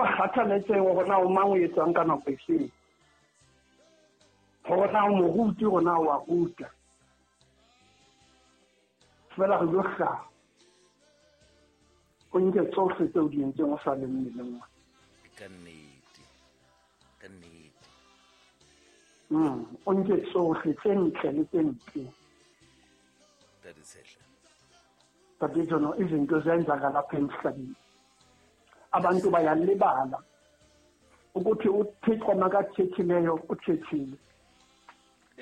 Sa kgathaletsehe hore na o mang o etsang ka nako efeng, hore na o moruti, hore na o a ruta. Fela re yo hlaha, o nke tsohle tseo di entseng o sa le mmeleng wa. Ka nnete, ka nnete. O nke tsohle tse ntle le tse mpe. Ntate Tshehla. Ntate Jono, izinto ziyenzakala lapha emhlabeni. Abantu bayalibala ukuthi uThixo makathethileyo uthethile.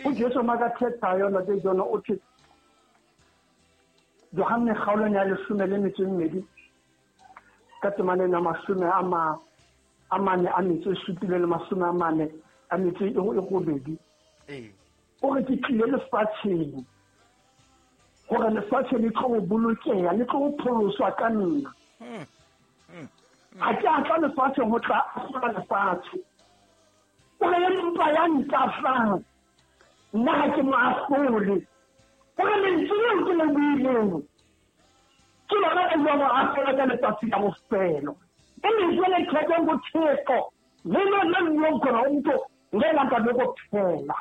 UJesu makathethayo, Ntate Jono, uthi Johanne kgaolong ya 12 ka temaneng ya 47 le 48. O re ke tlile lefatsheng gore lefatshe le tlo bolokeha, le tlo pholoswa ka nna. Ga ke a tla lefatsheng go tla ahlola lefatshe. O re empa ya ntahlang, nna ga ke mo ahlole. O re lentswe leo ke le buileng ke lona le jwa mo ahlola ka letsatsi la bofelo. E lentswe le thekeng go Thixo, lelo le buang khona umntu ngelanga lokuphela.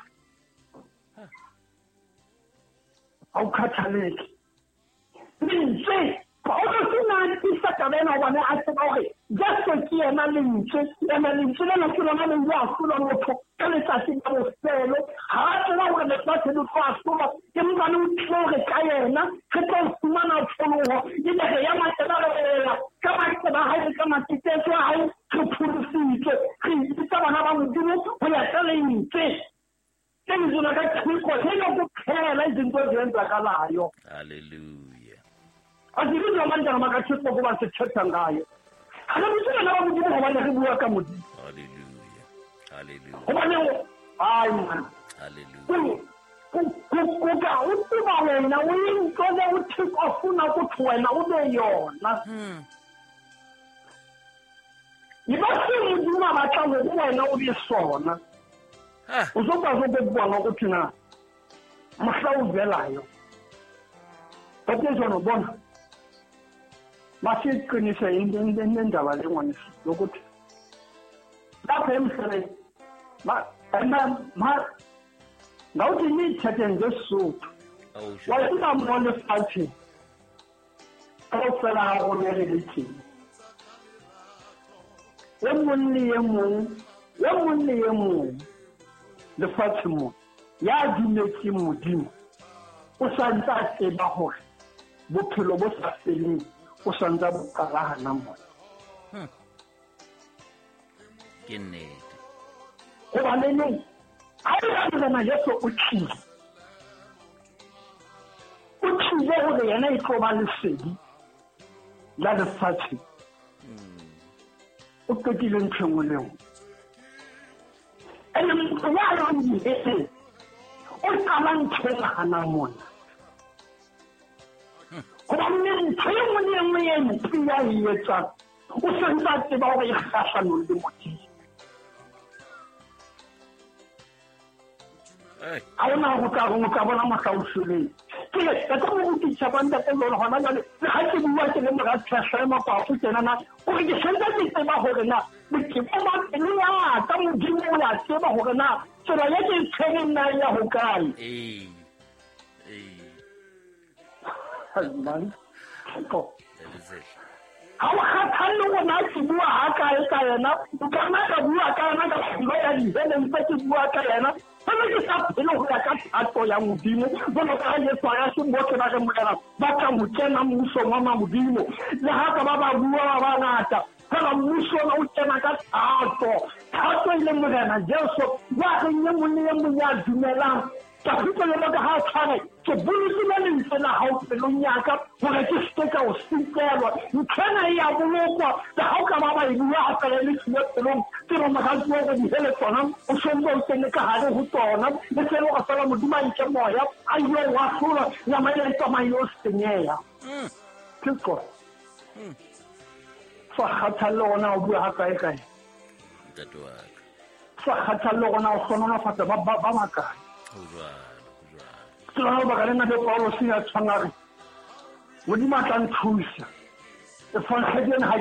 Awukhathaleki. Lentswe Paulus o ne a tiisa taba ena hobane a tseba hore Jesu ke yena lentswe, ene lentswe lena ke lona le ile ahlola motho ka letsatsi la bofelo. Ha a tseba hore lefatshe le tlo ahlolwa, empa le o tlile hore ka yena re tlo fumana pholoho, ebe re ya matsela re ela ka maqeba a hae le ka matetetso a hae, re pholositswe, re ipitsa bana ba Modimo ho ya ka lentswe. Ke lentswe la ka Thixo lelo kuphela izinto ezenzakalayo. Hallelujah. Asibizwa abantwana bakaThixo kuba sithetha ngayo. Ha re bitse bana ba Modimo hobane re bua ka Modimo. Hallelujah. Hallelujah. Hobane hayi man. Hallelujah. Kuka ukuba wena uyinto le uThixo afuna ukuthi wena ube yona. Yiba se Modimo a batlang hore wena o be sona. Uzokwazi ukubona ukuthi na mohla o velayo. But jwalo bona masiqinise indaba le ngwaneso yokuthi lapha emhlabeni ngawuthi niyithethe ngeSotho wa tseba mo lefatsheng kaofela ha rona re le teng, e mong le e mong, e mong le e mong lefatsheng mo ya dumetseng Modimo o sa ntse a tseba hore bophelo bo sa feleng o sa ntse bo qala hana mona. Ke nnete. Hobaneneng ha e ba Morena Jesu o tlile, o tlile hore yena e tlo ba lesedi la lefatshe. O qetile ntho e nngwe le nngwe. Ene motho ya yang diheleng o qala ntho e hana mona. Hobane ntho e nngwe le e nngwe e mpe ya e etsang, o santse a tseba hore e kgahlanong le Modimo. Ha ona ho tla reng o tla bona mohla o shweleng. Ke re, ka tlo mo rutisa kwa ntate jwale hona jwale, le ha ke bua ke le mora Tshehla e Makwafo tjena na, hore ke santse ke tseba hore na botebo ba pelo ya ka Modimo o ya tseba hore na tsela ye ke e tshwereng na e ya hokae. Man. Ha o kgathalle hore na ke bua ha kae ka yena, nka nna ka bua ka yena ka pelo ya diheleng tse ke bua ka yena. Fela ke sa phele ho ya ka thato ya Modimo, jwalo ka ha Jesu a re se bohle ba re Morena ba tla ho kena mmusong wa Modimo. Le ha ka ba ba bua ba bangata, fela mmuso ona o kena ka thato. Thato e leng Morena Jesu ya reng e mong le e mong ya dumelang. Ka fihla jwalo ka ha tshware, ke bolokile lentswe la hao pelong ya ka, hore ke se ke ka o sitelwa. Ntho ena e ya bolokwa, le ha o ka ba ba e bua ha fela e le siyo pelong, ke re moratuwa hore dihele tsona o sontse o kene ka hare ho tsona, e se le hore fela Modimo a nke moya, a ile o ahlola, nama ena e tsamaye o senyeha. Ke tsona. Sa kgathalle hore na o bua ha kae kae. Ntate wa ka. Sa kgathalle hore na o hlohonolofatsa ba bakae. Ho jwalo, ho jwalo. Ke lona lebaka lena le Paulus ya tshwana re, Modimo a tla nthusa. Evangeli ena ha ke